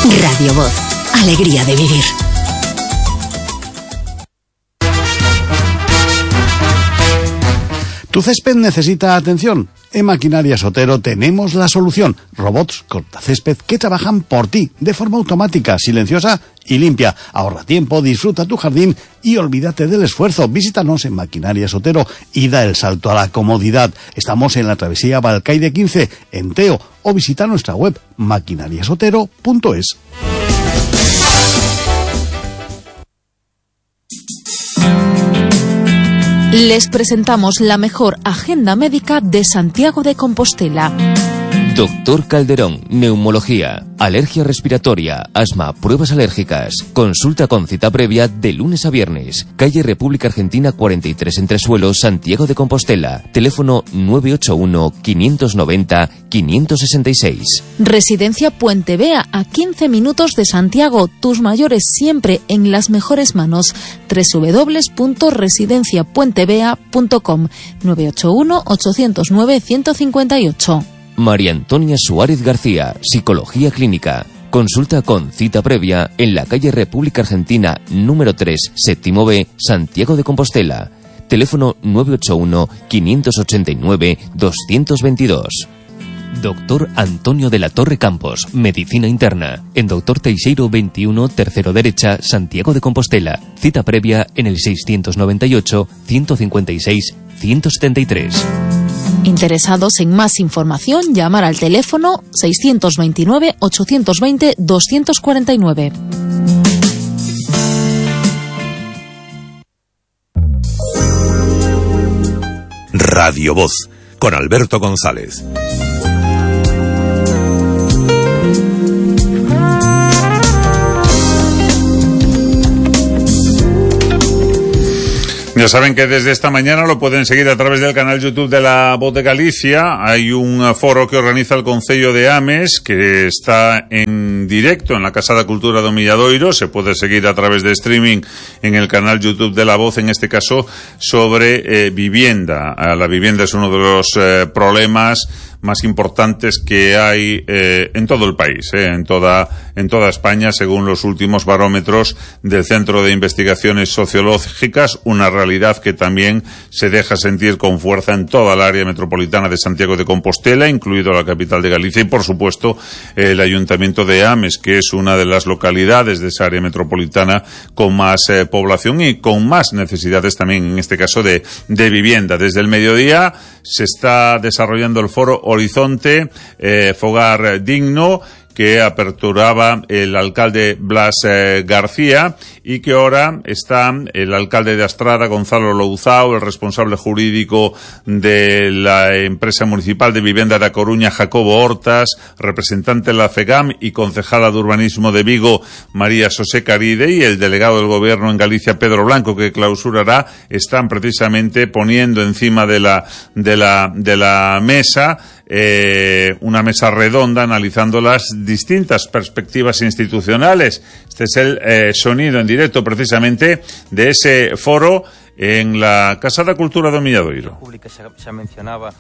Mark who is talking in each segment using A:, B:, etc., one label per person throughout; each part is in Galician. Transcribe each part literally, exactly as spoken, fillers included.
A: Radio Voz. Alegría de vivir.
B: ¿Tu césped necesita atención? En Maquinaria Sotero tenemos la solución. Robots cortacésped que trabajan por ti, de forma automática, silenciosa y limpia. Ahorra tiempo, disfruta tu jardín y olvídate del esfuerzo. Visítanos en Maquinaria Sotero y da el salto a la comodidad. Estamos en la travesía Balcaide quince, en Teo, o visita nuestra web maquinariasotero punto es.
C: Les presentamos la mejor agenda médica de Santiago de Compostela.
D: Doctor Calderón, neumología, alergia respiratoria, asma, pruebas alérgicas. Consulta con cita previa de lunes a viernes. Calle República Argentina cuarenta y tres, Entresuelo, Santiago de Compostela. Teléfono nueve ocho uno, quinientos noventa, quinientos sesenta y seis.
C: Residencia Puente Vea, a quince minutos de Santiago. Tus mayores siempre en las mejores manos. doble u doble u doble u punto residencia puente vea punto com. nueve ocho uno, ocho cero nueve, uno cinco ocho.
D: María Antonia Suárez García, Psicología Clínica. Consulta con cita previa en la calle República Argentina número tres, séptimo B, Santiago de Compostela. Teléfono nueve ocho uno, quinientos ochenta y nueve, doscientos veintidós. Doctor Antonio de la Torre Campos, Medicina Interna. En Doctor Teixeiro veintiuno, tercero derecha, Santiago de Compostela. Cita previa en el seiscientos noventa y ocho, ciento cincuenta y seis, ciento setenta y tres.
C: Interesados en más información, llamar al teléfono seiscientos veintinueve, ochocientos veinte, doscientos cuarenta y nueve.
E: Radio Voz, con Alberto González.
F: Ya saben que desde esta mañana lo pueden seguir a través del canal YouTube de La Voz de Galicia. Hay un foro que organiza el Concello de Ames que está en directo en la Casa da Cultura do Milladoiro. Se puede seguir a través de streaming en el canal YouTube de La Voz, en este caso sobre eh, vivienda. La vivienda es uno de los eh, problemas más importantes que hay eh, en todo el país, eh, en toda en toda España, según los últimos barómetros del Centro de Investigaciones Sociológicas, una realidad que también se deja sentir con fuerza en toda el área metropolitana de Santiago de Compostela, incluido la capital de Galicia y, por supuesto, el Ayuntamiento de Ames, que es una de las localidades de esa área metropolitana con más eh, población y con más necesidades también, en este caso, de, de vivienda. Desde el mediodía se está desarrollando el foro Horizonte, eh, Fogar Digno, que aperturaba el alcalde Blas eh, García, y que ahora está el alcalde de Astrada, Gonzalo Louzao, el responsable jurídico de la empresa municipal de vivienda de A Coruña, Jacobo Hortas, representante de la FEGAM y concejala de urbanismo de Vigo, María José Caride, y el delegado del gobierno en Galicia, Pedro Blanco, que clausurará, están precisamente poniendo encima de la, de la, de la mesa Eh, una mesa redonda analizando las distintas perspectivas institucionales. Este es el eh, sonido en directo precisamente de ese foro en la Casa da Cultura do Milladoiro.
G: Pública xa, xa mencionaba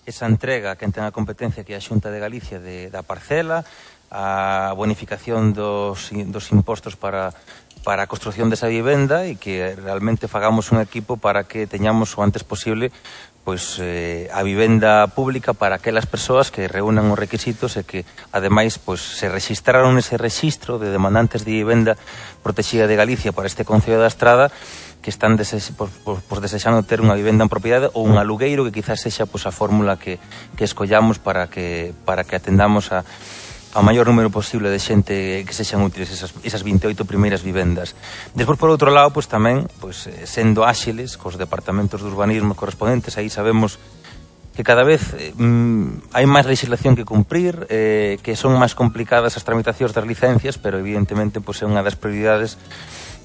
G: esa entrega que ten a competencia que é a Xunta de Galicia de, da parcela, a bonificación dos, dos impostos para para a construción desa vivenda, e que realmente fagamos un equipo para que teñamos o antes posible pois eh, a vivenda pública para aquelas persoas que reúnan os requisitos e que ademais pois se rexistraron nese rexistro de demandantes de vivenda protexida de Galicia para este Concello da Estrada, que están desex, pois, pois, pois desexando ter unha vivenda en propiedade ou un alugueiro, que quizás sexa pois a fórmula que, que escollamos para que para que atendamos a ao maior número posible de xente que sexan útiles esas, esas veintioito primeiras vivendas. Despois, por outro lado, pois tamén, pois, sendo áxiles cos departamentos de urbanismo correspondentes, aí sabemos que cada vez eh, hai máis legislación que cumprir, eh, que son máis complicadas as tramitacións das licencias, pero evidentemente pois, é unha das prioridades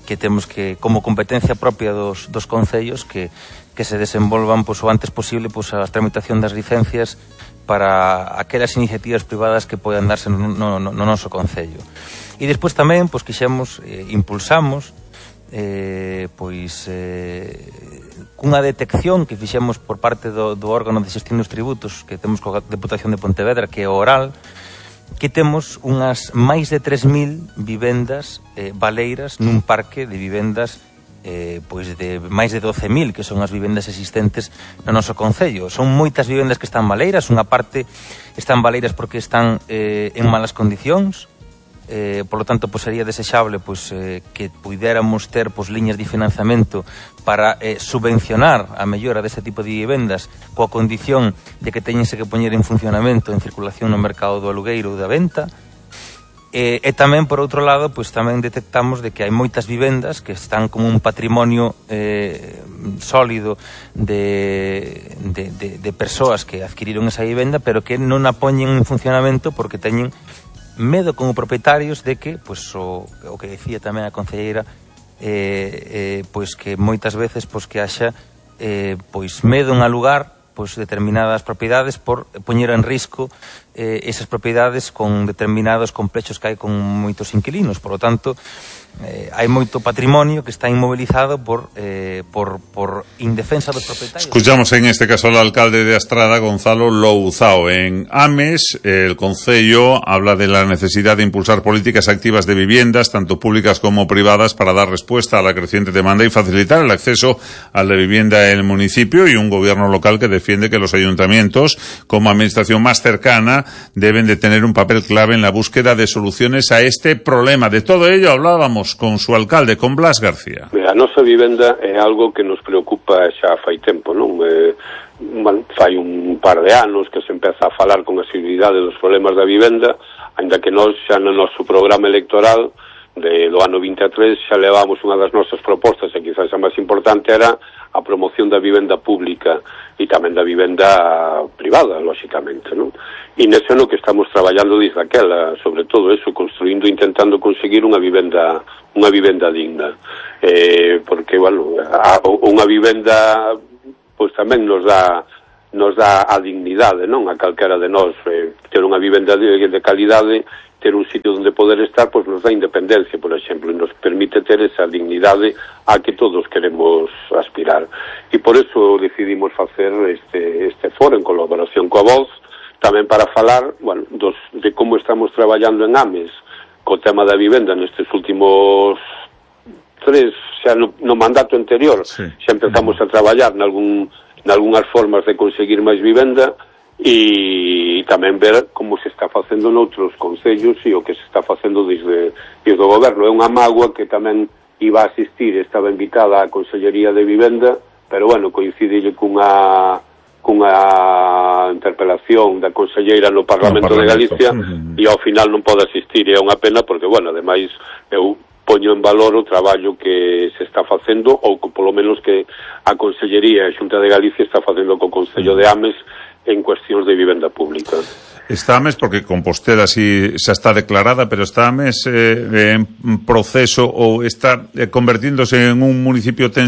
G: que temos que, como competencia propia dos, dos concellos, que, que se desenvolvan pois, o antes posible pois, a tramitación das licencias para aquelas iniciativas privadas que poden darse no, no, no noso concello. E despois tamén, pois, quixemos, eh, impulsamos, eh, pois, eh, cunha detección que fixemos por parte do, do órgano de xestión dos tributos que temos coa Deputación de Pontevedra, que é oral, que temos unhas máis de tres mil vivendas eh, baleiras nun parque de vivendas eh, pois de máis de doce mil, que son as vivendas existentes no noso concello. Son moitas vivendas que están baleiras, unha parte están baleiras porque están eh, en malas condicións, eh, por lo tanto, pois sería desexable pois, eh, que puidéramos ter pois, liñas de financiamento para eh, subvencionar a mellora deste tipo de vivendas coa condición de que teñense que poñer en funcionamento, en circulación no mercado do alugueiro ou da venta. E, e tamén, por outro lado, pois tamén detectamos de que hai moitas vivendas que están como un patrimonio eh, sólido de, de, de, de persoas que adquiriron esa vivenda, pero que non a poñen en funcionamento porque teñen medo como propietarios de que, pois o, o que decía tamén a concelleira, eh, eh, pois que moitas veces pois que haxa eh, pois medo en alugar pois determinadas propiedades por poñer en risco eh, esas propiedades con determinados complexos que hai con moitos inquilinos. Por lo tanto, eh, hai moito patrimonio que está inmovilizado por, eh, por, por indefensa dos propietarios.
F: Escuchamos en este caso al alcalde de Astrada, Gonzalo Louzao. En Ames, el concello habla de la necesidad de impulsar políticas activas de viviendas, tanto públicas como privadas, para dar respuesta a la creciente demanda y facilitar el acceso a la vivienda en el municipio, y un gobierno local que defiende que los ayuntamientos, como administración más cercana, deben de tener un papel clave en la búsqueda de soluciones a este problema. De todo ello hablábamos con su alcalde, con Blas García.
H: A nosa vivenda é algo que nos preocupa xa fai tempo, non? Eh, fai un par de anos que se empeza a falar con asiduidade dos problemas da vivenda, ainda que nós xa no noso programa electoral de, do ano vinte e tres xa levamos unha das nosas propostas, e quizás a máis importante era a promoción da vivenda pública e tamén da vivenda privada, lóxicamente, non? E nese no que estamos traballando desde aquela, sobre todo eso, construindo, intentando conseguir unha vivenda unha vivenda digna. Eh, porque, bueno, a, unha vivenda pois tamén nos dá nos dá a dignidade, non? A calquera de nós, eh, ter unha vivenda de, de calidade, ter un sitio onde poder estar, pois nos dá independencia, por exemplo, e nos permite ter esa dignidade a que todos queremos aspirar. E por eso decidimos facer este, este foro en colaboración coa Voz, tamén para falar, bueno, dos, de como estamos traballando en Ames co tema da vivenda nestes últimos tres, xa no, no mandato anterior, sí. Xa empezamos a traballar nalgún, nalgúnas formas de conseguir máis vivenda, e tamén ver como se está facendo noutros concellos e o que se está facendo desde, desde o goberno. É unha mágoa que tamén iba a asistir, estaba invitada á Consellería de Vivenda, pero bueno, coincide cunha cunha interpelación da conselleira no Parlamento, no Parlamento de Galicia, uh-huh. E ao final non pode asistir, e é unha pena porque, bueno, ademais eu poño en valor o traballo que se está facendo, ou que polo menos que a Consellería e a Xunta de Galicia está facendo co Concello de Ames en cuestións de vivenda pública.
F: Está Ames porque Compostela sí xa está declarada, pero está Ames eh, en proceso ou está eh, convertíndose en un municipio ten